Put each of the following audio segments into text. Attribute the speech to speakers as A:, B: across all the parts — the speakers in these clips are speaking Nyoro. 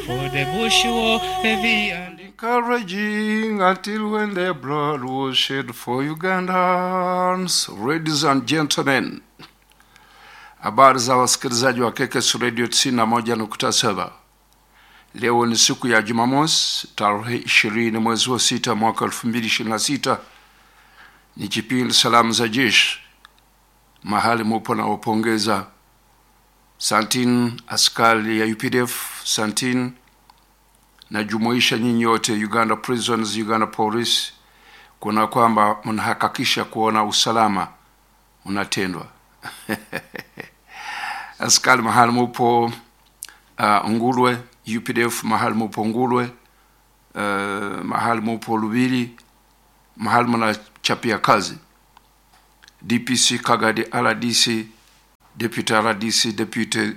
A: For the bush war heavy and
B: Encouraging until when their blood was shed for Ugandans. Ladies and gentlemen, habari za wasikilizaji wa KKS Radio 91.7. Leo ni siku ya Jumamosi tarehe 20 mwezi wa sita mwaka 2026. Ni kipindi salamu za jeshi, mahali mupo na wapongeza Santin askari ya UPDF Santin najumuisha nyinyi wote Uganda Prisons, Uganda Police, kuna kwamba mnahakikisha kuona usalama unatendwa. Askari mahali mupo Ngulwe, UPDF mahali mupo Ngulwe, mahali mupo Lubiri, mahali mnachapia kazi, DPC Kagadi, RDC, Deputy RDC, Deputy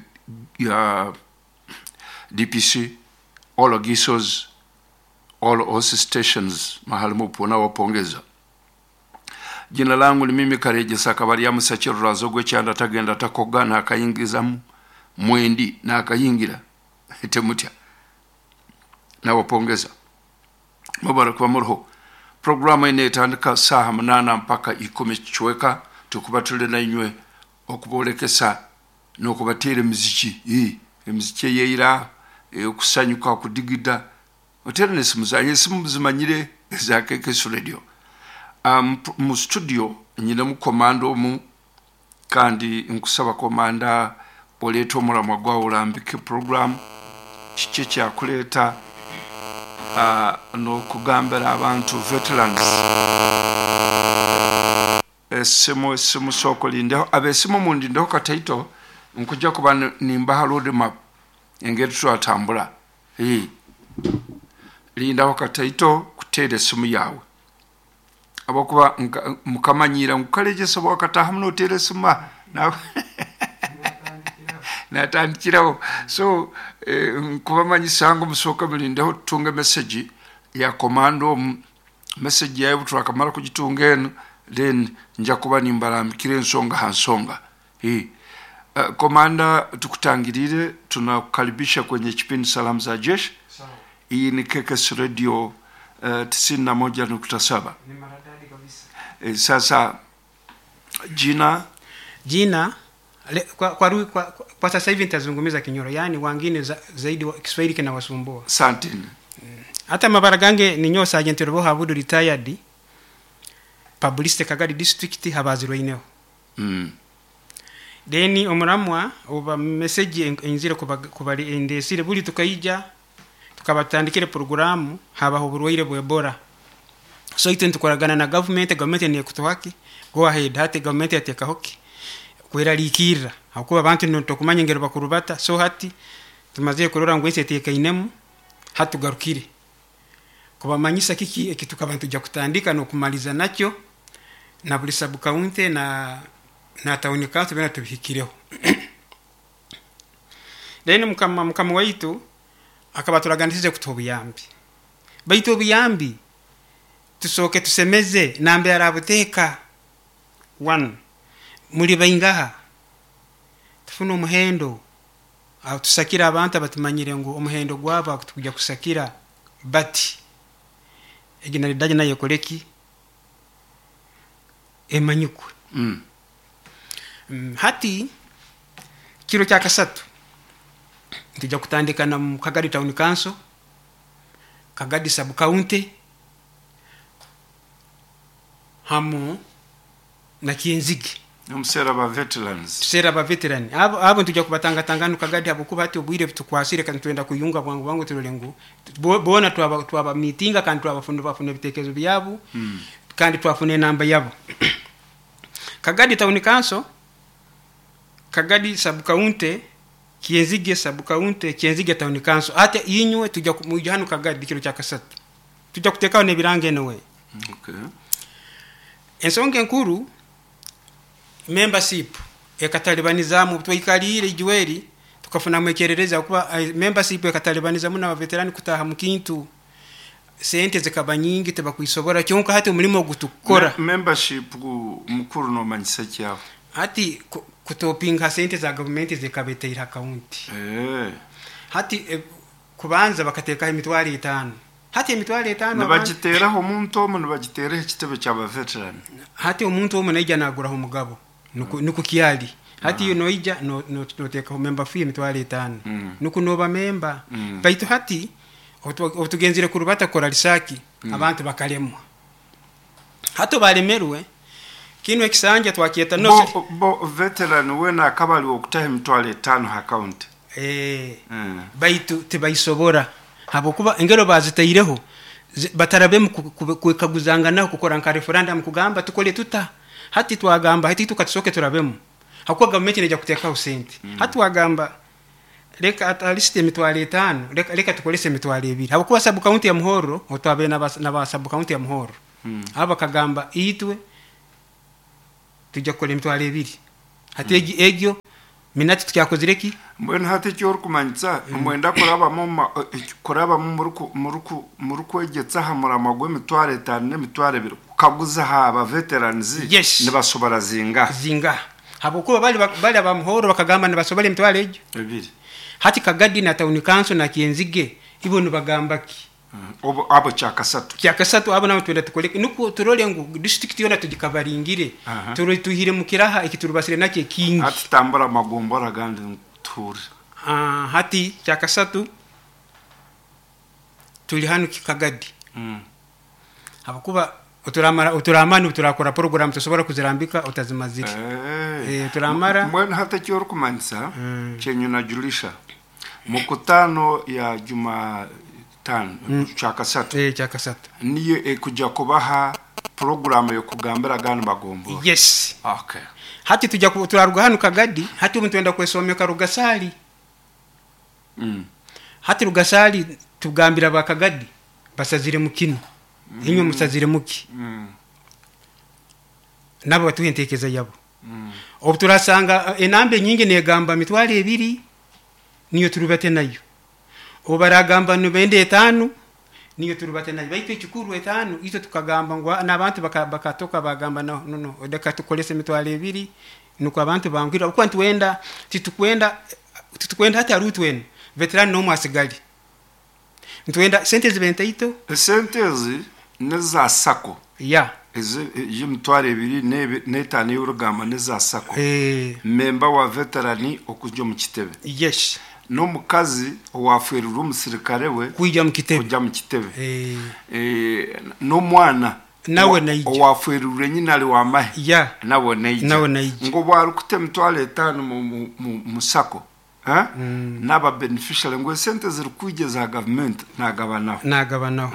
B: DPC, all GISOs, all OC stations mahali mupo nawapongeza. Jina langu ni mimi Kareje Sakabari Musakirura Zogwe Kyanda tagenda takoga nakayingizamu mwendi nakayingira temutya. Nawapongeza, mubarak muriho. Programu ine etandika saha 8 mpaka 10 kichweka tukuba tuli na inywe okubolekesa n'okubateera emiziki emiziki eyeira okusanyuka kudigida otera nesimu zange esimu zimanyire eza KKS Radio. Mu studio nyinemu komanda omu kandi nkusaba komanda oleeta omulamwa gwawe olambike program kiki ekyakuleeta n'okugambira abantu veterans. Esimu sooka olindeho abesimu mundindeho kataito nkujja kuba nimbaha road map engeri twatambula. Lindaho kataito kuteera esimu yawe abakuba mukamanyira nkukalejesa bwakataha muno oteera esimu natandikiraho. So nkubamanyisa ngu musooka mulindeho tutunge message ya komando omu message yawe twakamara kugitunga eno then nja kuba nimbarambikira ensonga ha nsonga. Komanda, tukutangirire, tunakukaribisha kwenye kipindi Salamu za Jeshi. Hii ni KKS Radio 91.7.
C: Ni maridadi kabisa.
B: Sasa jina
C: Jina le, kwa sasa hivi nitazungumza Kinyoro, yaani wangine zaidi Kiswahili kinawasumbua.
B: Santini.
C: Hata mabara gange ni nyo Sergeant Robo Habudu retired Publicity Kagadi District habazirweineho. Then omuramwa oba message enzire kubali endesire buli tukaija tukabatandikire programu habaho oburwaire bwa Ebola. So itwe ntukoragana na government ni kutuhaki go ahead hati government yatekahoki kwerarikirira hakuba abantu ntokumanya ngero bakurubata. So hati tumaze kurora ngo ese tekainemu hatugarukire kubamanyisa kiki ekituka abantu ja kutandika no kumaliza nakyo na buli sub county na town council bena tubihikireho. Then mukama waitu akabaturaganisize kutuha obuyambi, baitu obuyambi tusoke tusemeze nambe arabuteka 1 muri baingaha tufuna omuhendo aho tusakira abantu abatumanyire ngu omuhendo gwabo akutukuja kusakira bati egina lidaje nayo koleki emanyikwe. Hati kiro kya kasatu tujja kutandika na mu Kagadi Town Council, Kagadi Sub County hamu na Kienzigi.
B: Omusera ba veterans.
C: Tusera ba veteran. Abo tujja kubatanga no Kagadi abo kuba hati obwire butukwasire kandi twenda kuyunga bwangu bwangu turole ngu bona twaba meetinga kandi twabafuna bafuna ebitekerezo byabo. Kandi twafuna enamba yabo. Kagadi Town Council, Kagadi Sub County, Kienzige Sub County, Kienzige Town Council. Ate inywe tujja kumujja hano Kagadi kiro kya kasatu. Tujja kutekaho n'ebirango anyway.
B: Okay.
C: Ensonga enkuru membership ekatalibanizamu twaikalire ijuweri tukafuna mwekerereza kuba membership ekatalibanizamu na veterani kutaha mukintu sente zikaba nyingi tebakwisobora kyonka hati omulimo gutukora.
B: Membership mukuru no manyisa kyaho
C: hati kutopinga sente za government zikabeteira account. Hati Kubanza bakateekaho 50,000. Hati 50,000
B: Nibagiteeraho omuntu omu, nibagiteeraho ekitebe ky'abaveteran?
C: Hati omuntu omu naija naguraho omugabo, nuku kyali hati. Iyo noija noteekaho member fee 50,000, nuku noba member. Baitu hati obutugenzire kurubata kukora research, abantu bakalemwa. Hati balemerwe kinu ekisanja twakyeta no
B: Bo veteran wena akaba ali okutaho 50,000 ha account?
C: Eh. Baitu tibaisobora, habwokuba engero bazitaireho batarabemu kwekaguzanganaho, kukora nka referendum, kugamba tukole tuta. Hati twagamba hati tukatusooke turabemu, hakuba gavumenti neija kuteekaho sente. Hati twagamba leka at least 50,000, leka tukolese 20,000, habwokuba sub county ya Muhorro, otwabaire naba sub county ya Muhorro, abo bakagamba itwe tujja kukora 20,000. Hati egyo minati tukyakozire ki?
B: Mbwenu hati eki orikumanyisa, mwenda kurabamu kurabamu murikwegyetsa aha murama gw'50,000 n'20,000, kukaguza ha aba veterans nibasobora zingaha?
C: Zingaha, habwokuba bali abamuhoro bakagamba nibasobora emitwaro egyo
B: 2.
C: Hati Kagadi na town council na Kyenzige ibo nibagamba ki?
B: Obo abo kyakasatu.
C: Kyakasatu, abo nabo twenda tukole nukwo turole ngu district yona tugikabaringire. Turole tuhire mu kiraha eki turubasire nakyo ekingi.
B: Hati tambura amagombora agandi tuhure.
C: Ah, hati kyakasatu tuli hanu Kikagadi, habwokuba oturamara oturamani turakora program, tosobora kuzirambika otazimazire. Turamara.
B: Mbwenu hati eki orikumanyisa, kyenyu najulisha mukutano ya juma tano, kyakasatu,
C: Kyakasatu.
B: Niyo ekujja kubaha programu yokugambira agandi magombora?
C: Yes.
B: Okay.
C: Hati tujja turaruga hanu Kagadi, hati obu nitwenda kwesomeka Rugasali. Hati Rugasali tugambira bakagadi basazire mu kinu, inywe musazire muki? Nabo batuha enteekeza yabo. Obu turasanga enamba enyingi negamba 20,000, niyo turubate nayo. Obu baragamba nibenda 5, niyo turubate nayo. Baitu ekikuru 5, itwe tukagamba ngu n'abantu bakatoka bagamba no, no, no, leka tukolese 20,000, nukwo abantu bangwira, okuba nitwenda titukwenda hati arutu enu veteran n'omu asigali, nitwenda sente zibe ntaito.
B: Esente ezi neza SACCO?
C: Ya.
B: Ezi 25,000 ey'orugamba neza SACCO?
C: Eh.
B: Member wa veterani okujja omu kitebe?
C: Yes.
B: N'omukazi owaferirwe omusirikare we
C: kwija mu kitebe?
B: Kujja mu kitebe.
C: Eh.
B: N'omwana
C: Nawe naija.
B: Owaferirwe nyina ali wamahe?
C: Ya.
B: Nawe naija?
C: Nawe naija.
B: Ngo bwarikuta 50,000 mu SACCO, eh? N'aba beneficiary, ngo esente ziri kwija za gavumenti nagabanaho?
C: Nagabanaho.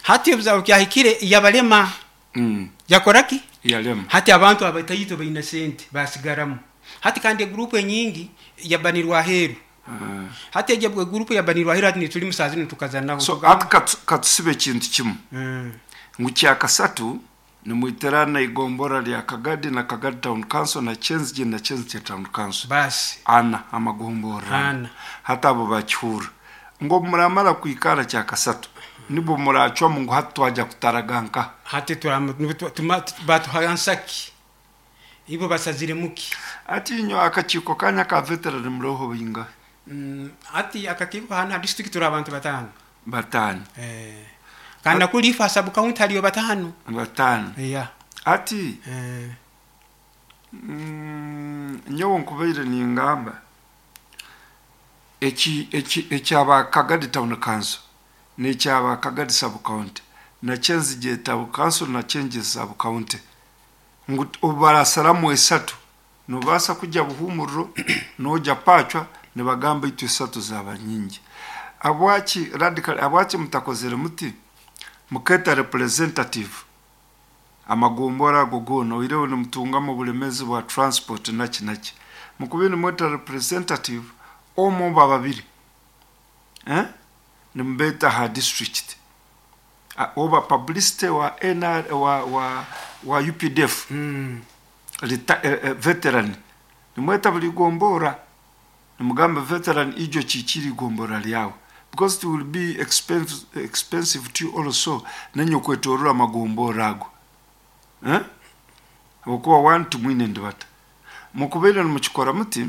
C: Hati ebizabo kyahikire yabalema. Yakora ki?
B: Yalema.
C: Hati abantu abataito baina sente basigaramu. Hati kandi egurupu enyingi yabanirwa aheeru. Hati egyo egurupu yabanirwa aheeru, hati nituli musazi nitukazanaho.
B: So hati katusibe ekintu kimu, ngu kyakasatu nimwiterana igombora lya Kagadi na Kagadi Town Council na Kyenzige na Kyenzige Town Council.
C: Basi.
B: Ana amagomborra.
C: Ana.
B: Hati abo bakihura ngo muramara kwikara kyakasatu, nibwo muracwamu ngu hati twajya kutaraga nka?
C: Hati batuha nsaki, ibo basazire muki.
B: Ati inyo akakiiko kanya ka veteran muroho binga?
C: Hati akakiiko hano ha district turi abantu 5.
B: 5.
C: Eh. Kandi nakuli ifa sub county haliyo 5.
B: 5.
C: Ya.
B: Ati nyowe nkubaire ningamba eki eki ekyaba Kagadi Town Council n'ekyaba Kagadi Sub County na Kyenzige Town Council na Kyenzige Sub County, ngu obu barasaramu 3, nobaasa kujya Buhumuriro noja Pacwa, nibagamba itwe 3 zaba nyingi. Abwaki radical, abwaki mutakozere muti muketa representative amagombora ago goona, oireho nimutungamu obulemezi bwa transport naki naki, mukubi nimweta representative omu oba 2, eh? Nimubeta ha district, oba publicity wa NR, wa UPDF, veteran, nimweta buli gombora nimugamba veteran ijo kikiri gombora lyawe, because it will be expensive to you also nenye kwetorora amagombora ago, eh? Okuba one tumwine ndibata mukubeera nimukikora muti,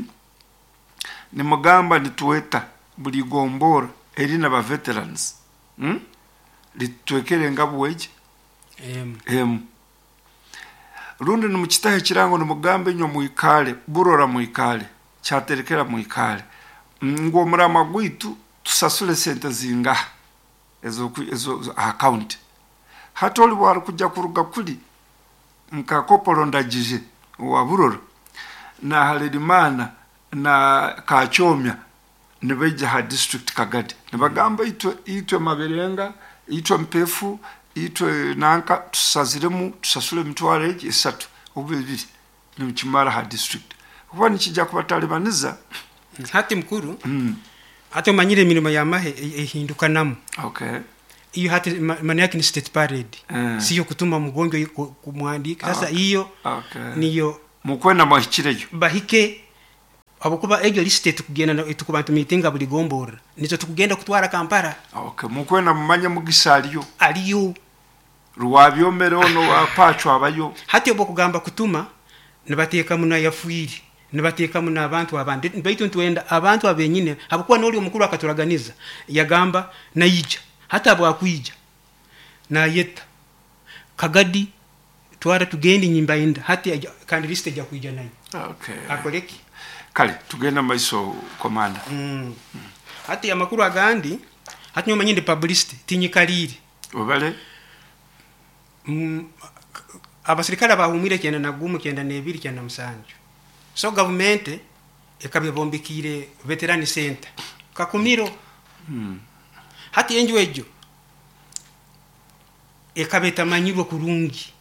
B: nimugamba nitweta buli gombora. Erina ba veterans, Litutwekere engabu egi
C: Emu.
B: Emu. Rundi nimukitaho ekirango nimugamba inywe mwikale, Burora mwikale, Kyaterekera mwikale, ngu omurama gwaitu tusasule sente zingaha ezo aha county. Hati oli bwarukujja kuruga kuli nka Kopolo Ndagije owa Burora na Halerimana na Kakyomya nibaija ha district Kagadi nibagamba itwe Maberenga, itwe Mpefu, itwe nanka tusaziremu tusasule emitwaro egi 3 oba 2 nikimara ha district kuba nikijja kubatalibaniza.
C: Hati mukuru, hati omanyire emirimo y'amahe ehindukanamu. Iyo hati maana yake ni state parade. Siyo kutuma mgonjwa kumwandika sasa hiyo. Niyo.
B: Mukwenda mwahikireyo.
C: Bahike habwokuba egyo lisite tukugenda tukuba tumitinga buli gombora nizo tukugenda kutwara Kampala.
B: Okay, mukwenda mumanye Mugisa aliyo.
C: Aliyo.
B: Rwabyomere ono wapachwa abayo.
C: Hati obwo kugamba kutuma nibateekamu nayafuiri, nibateekamu n'abantu abandi, baitu ntwenda abantu abenyine habwokuba n'oli omukuru akaturaganiza yagamba naija. Hati abwakwija nayeta Kagadi twara tugende nyimba inda hati kandi liste ejja kwija nayo. Akoleki.
B: Kale tugenda maiso komanda.
C: Hati amakuru agandi hati nyuma nyindi publicity tinyikalire.
B: Obale.
C: Abasirikale bahumwire 91, 92, 97. So government ekabebombekire veteran center Kakumiro. Hati enju ejo ekaba etamanyirwe kurungi,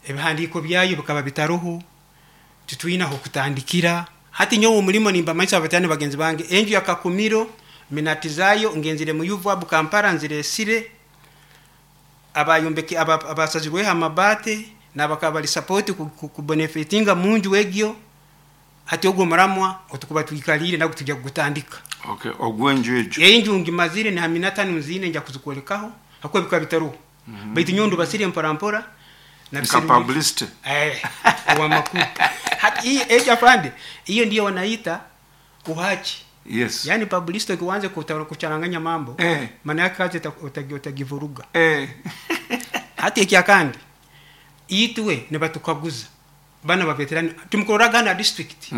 C: ebihandiiko byayo bikaba bitaroho, titwina aho kutandikira. Hati nyowe omulimo nimbamanyisa abavetani bagenzi bange enju ya Kakumiro minati zayo ngenzire mu UVAB Kampala nziresire abayombeke abasazirweho amabate nabakaba bali support ku benefitinga munju egyo. Hati ogwo muramwa otukuba twikalire nagwo tujja kugutandika.
B: Okay, ogwenju egyo.
C: Enju ngimazire ni haminata nzine nja kuzikolekaho hakuba bikaba bitaruho. Baitu nyondo basire mpora mpora na
B: Nka publicity.
C: Wa makuru. Hati hii eja afande, hiyo ndio wanaita uhachi.
B: Yes.
C: Yaani publicity ukianza kucharanganya mambo, maana yake kazi utagivuruga. Hati ekyakandi itwe nibatukaguza bana ba veteran tumukoraga na district.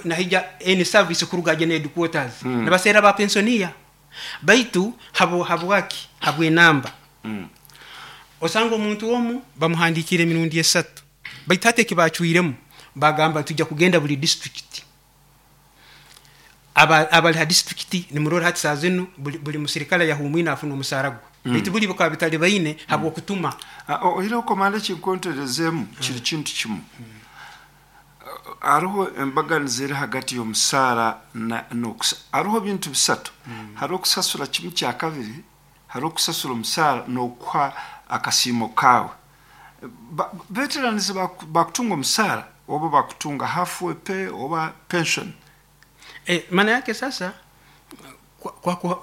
C: Nahija any service kuruga jene headquarters. Nabasera ba pensionia baitu habo habwaki habwe namba. Osanga omuntu omu bamuhandikire emirundi 3 baitu hati ekibacwiremu bagamba tujja kugenda buli district. Abali ha district nimurora hati saa zinu buli musirikale yahumwina afuna omusara gwe. Baitu buli bukaba bitali baine habwo kutuma.
B: Oira okomanda kinkonterezemu kiri kintu kimu. Hariho embaganiza eri hagati y'omusaara n'okusa. Hariho bintu bisatu. Hariho okusasura kimu kya kabiri, hariho okusasura omusaara n'okuha akasiimo kaawe. Veterans bakutunga omusaara oba bakutunga halfway pay oba pension.
C: Maana yake sasa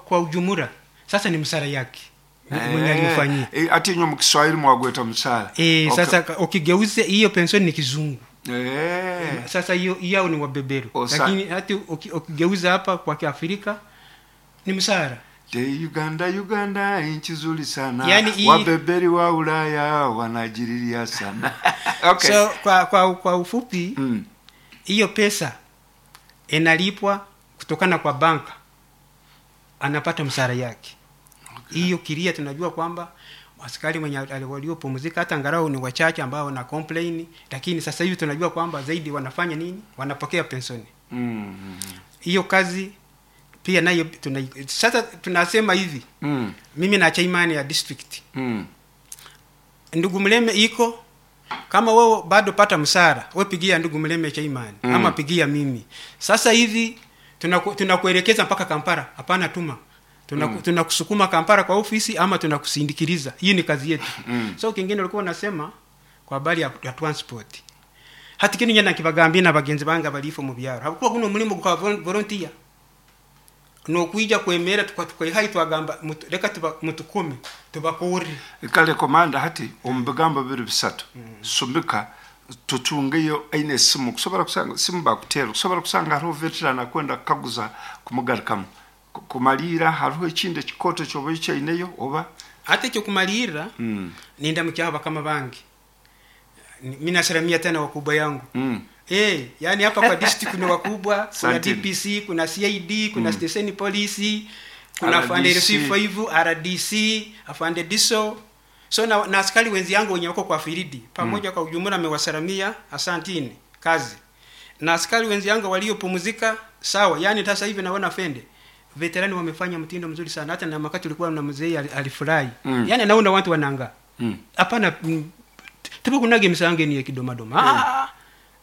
C: kwa ujumla sasa ni msara yake. Mwenye alifanyia.
B: Ati nyo mkiswahili mwagweta msara.
C: Sasa ukigeuze hiyo pension ni kizungu. Sasa hiyo ni wabeberu. Lakini hati ukigeuza hapa kwa Kiafrika ni msara.
B: De Uganda, Uganda nchi nzuri sana.
C: Yani
B: wabeberi wa Ulaya wanajiriria sana.
C: So kwa ufupi, hiyo pesa inalipwa kutokana kwa banka, anapata msara yake. Hiyo kiria tunajua kwamba askari mwenye waliopumzika hata angalau ni wachache ambao wana complain, lakini sasa hivi tunajua kwamba zaidi wanafanya nini? Wanapokea pensioni. Hiyo kazi pia nayo sasa tunasema hivi. Mimi na chairman ya district. Ndugu Mleme iko kama wewe bado pata msara, wewe pigia ndugu Mleme chairman, ama pigia mimi. Sasa hivi tunakuelekeza mpaka Kampala, hapana tuma. Tunakusukuma Kampala kwa ofisi ama tunakusindikiriza. Hii ni kazi yetu. So kingine ulikuwa unasema kwa habari ya transport. Hati kini nyana kibagambye na bagenzi banga balifo mu byaro. Hakuwa kuno mulimo kwa volunteer. No kuija kwemera tukaihai twagamba reka mutukome tubakore.
B: Kale komanda hati ombigamba biri bisatu. Sumika tutungeyo aine simu kusobora kusanga simu bakutera kusobora kusanga hariho veteran akwenda kukaguza kumugarukamu. Kumalira hariho ekindi ekikoto kyoba okyaineyo oba?
C: Hati ekyokumalirra, nindamukyaho bakama bange. Mi nasalamia tena wakubwa yangu. Yani hapa kwa district kuna wakubwa, kuna
B: Asante.
C: DPC, kuna CID, kuna station police, kuna afande
B: RDC.
C: RC5, RDC, afande DISO. So na askari wenzi yangu wenye wako kwa firidi pamoja, kwa ujumla amewasalamia, asantini kazi. Na askari wenzi yangu waliopumzika sawa, yani sasa hivi naona fende veterani wamefanya mtindo mzuri sana, hata na wakati ulikuwa na mzee alifurahi. Yani naona watu wananga hapana, tubakunage misange ni kidomadoma. Ah,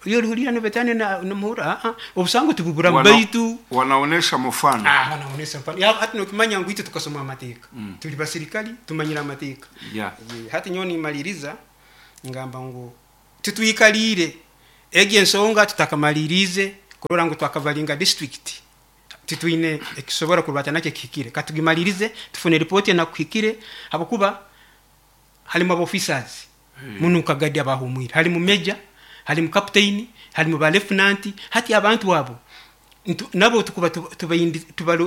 C: iyo lihulira ni veterani na muhura, ah, obusango tububura baitu
B: Wanaonesha mfano.
C: Ah, wanaonesha mfano. Ya, hata nokimanya ngu itwe tukasoma amateeka, tuli basirikali tumanyira amateeka. Ye, hati nyowe nimaliriza ngamba ngu titwikalire egi ensonga, tutakamalirize kurora ngu twakavalinga district, titwine ekisobora kurwata nakyo kihikire. Katugimalirize tufune ripoti enakuhikire, habwokuba halimu officers muno kagadi abahumwire, halimu major, halimu captain, halimu ba lieutenant. Hati abantu abo nabo tukuba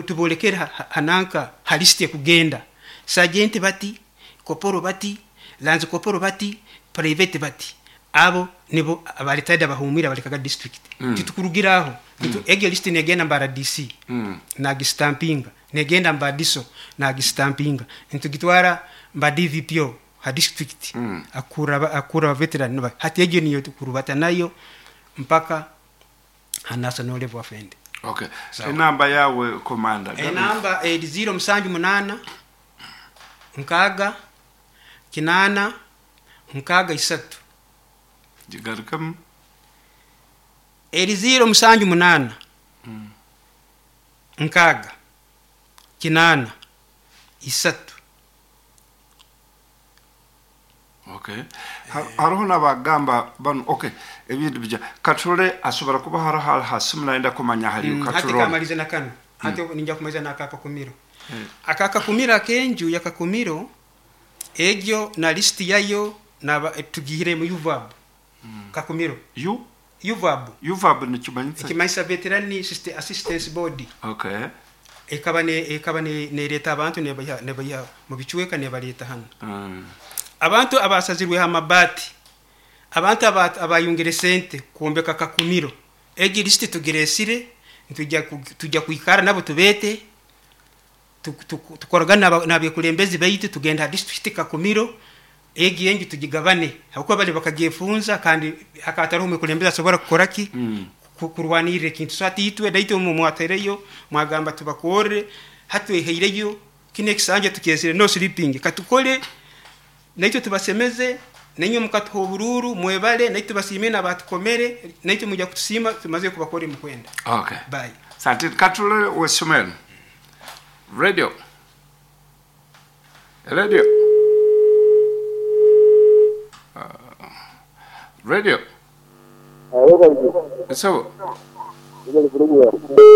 C: tubolekera hananka halisiti ekugenda sergeant bati, koporo bati, lanzi koporo bati, private bati, abo nibo abaritayidi abahumwire abalekaga district. Titukurugiraho. Egyo list negenda mba RDC, nagistampinga, negenda mba DISO, nagistampinga, ntugitwara mba DVPO ha district, akura veteran hati egyo niyo tukurubata nayo mpaka ha national level afende.
B: Okay.
C: Sawa.
B: Enamba yawe, komanda?
C: Enamba eri 078 6 8 6 3.
B: Gigarukamu.
C: Eri 078 6 8 3.
B: Okay. Hariho n'abagamba bano, okay, ebintu bija katule asobora kuba hariho hasimu nayenda kumanya hariyo.
C: Hati
B: Katulole.
C: Kamalize na kano, hati ninja kumaliza na akakakumiro, akakakumiro akenju yakakumiro egyo na lisiti yayo naba tugihire mu UVAB kakumiro.
B: Yu
C: UVAB.
B: UVAB nikimanyisa?
C: Ekimanyisa Veteran Assistance Board. Ekaba ne nereta abantu nebayiha mu bicweka nebaleta hano. Abantu abasazirweho amabati, abantu abayungire sente kwombeka kakumiro, egi lisiti tugiresire, tujya kwikara nabo tubete, tukoragana n'abekulembezi baitu, tugenda ha district kakumiro egi engi tugigabane, habwokuba bali bakagyefunza kandi hakatariho omukulembezi asobora kukoraki, kurwanirira ekintu. So hati itwe naitwe mwatereyo mwagamba tubakorere, hatweheireyo kino ekisanja tukyesire, no sleeping, katukole naitwe tubasemeze, nainywe mukatuha obururu, mwebale, naitwe tubasiime nabatukomere, naitwe mujja kutusiima tumaze kubakora emukwenda.
B: Okay.
C: Bye.
B: Sante. Katulole wesomero radio, radio, radio. Esabo.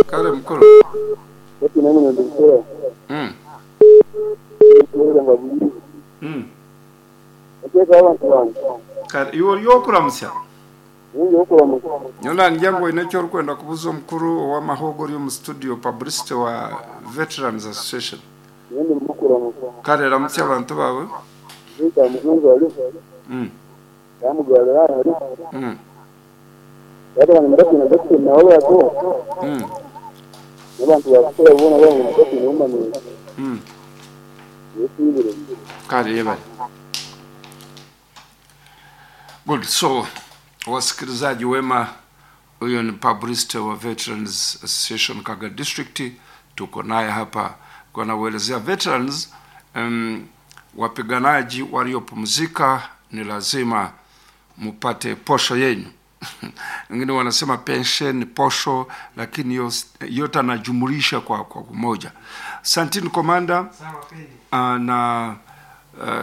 B: Kale mukuru. Kale iwe ori okuramusya nyona ngira ngu oine eki orikwenda kubuza omukuru ow'amahogo ori omu studio, publicity wa Veterans Association. Kale ramutsya abantu bawe. Kale yebale. Good. So wasikilizaji wema, huyo ni publicity wa Veterans Association Kaga District, tuko naye hapa kwa nauelezea veterans, wapiganaji waliopumzika ni lazima mupate posho yenyu. Wengine wanasema pension, posho, lakini yote anajumulisha kwa kumoja. Santini komanda.
C: Sawa kweli.
B: Na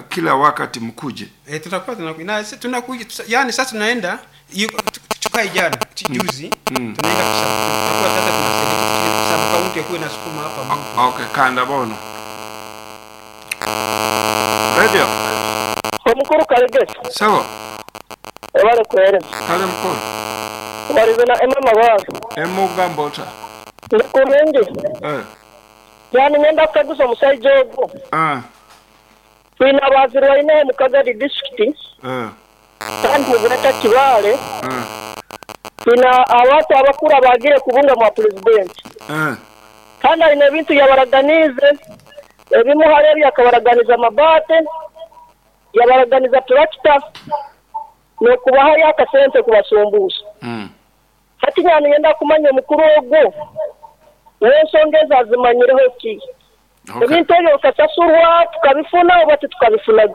B: kila wakati mkuje.
C: Tutakuwa tunakuja na tunakuja yani sasa tunaenda tukai jana juzi, tunaenda tutakuwa sasa tunasema sub county kuwe na sukuma hapa mtu.
B: Okay, kanda bona radio.
D: Omukuru Kalegesa.
B: Sawa.
D: Ebale kuhereza.
B: Kale mukuru.
D: Walize na emma mabazo.
B: Emugamba ota?
D: Ndikurungi. Yani ngenda kukaguza omusaija ogwo.
B: Ah,
D: Twine abazirwaine mu Kagadi district
B: eh,
D: kandi mugureta Kibaale.
B: eh,
D: Twine abantu abakuru abagire kubunga mwa pulezidenti.
B: eh.
D: Kandi alina ebintu yabaraganize ebimu hari ebyo akabaraganiza amabaate, yabaraganiza turakita n'okubahayo akasente kubasumbuusa.
B: Mm.
D: Hati nyani yenda kumanya omukuru ogwo w'ensonga ezo azimanyireho ki?
B: Okay.
D: Ebintu ebyo bikasasurwa tukabifuna oba titukabifunaga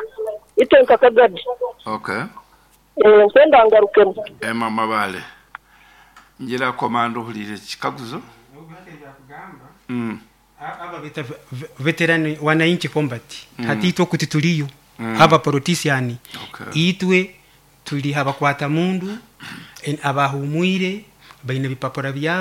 D: itwe nka Kagadi.
B: Okay.
D: Eh, nkwenda ngarukemu.
B: Emma Mabale. Ngira komanda ohulire ekikaguzo. Mm.
C: Aba beta veteran wananchi combat hati itwe kuti tuliyo aba politician.
B: Okay.
C: Itwe tuli abakwata mundu abahumwire baine bipapura byabo.